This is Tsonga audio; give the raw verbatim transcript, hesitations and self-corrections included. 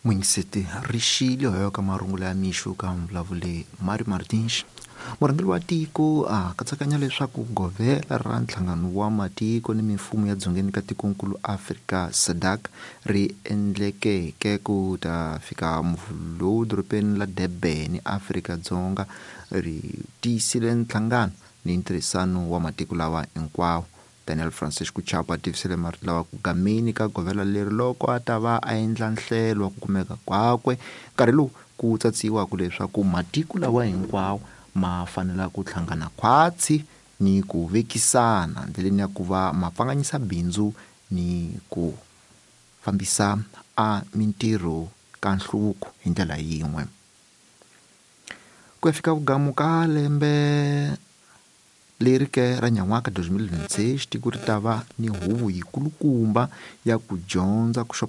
Muyingiseti rixile hoyo ka marungula ya mixo ka mvulavule Mario Martins. Murhangeri wa tiko a katsakanya leswaku govela ra nhlangano wa matiko ni mimfumo ya dzongeni ka tikonkulu Afrika SADC ri endlekeke ku ta fika muvhulo lowu dorobeni la Durban Afrika-Dzonga ri tiyisile nhlangano ni ntirhisano wa matiko lawa hinkwawo. Daniel Francisco Chapo a tivisile marito lawa ku gameni ka govela leri loko a ta va a endla nhlelo wa ku kumeka kwakwe nkarhi lowu ku tsatsiwaka leswaku matiko lawa hinkwawo ma fanela ku hlangana khwatsi ni ku vekisana ndleleni ya ku va ma pfanganyisa bindzu ni ku fambisa a mintirho ka nhluvuko hi ndlela yin'we. Ku ya fika vugamu ka lembe leri ke ra nyan'waka twenty twenty-six tiko ri ta va ni huvo yikulukumba ya ku dyondza ku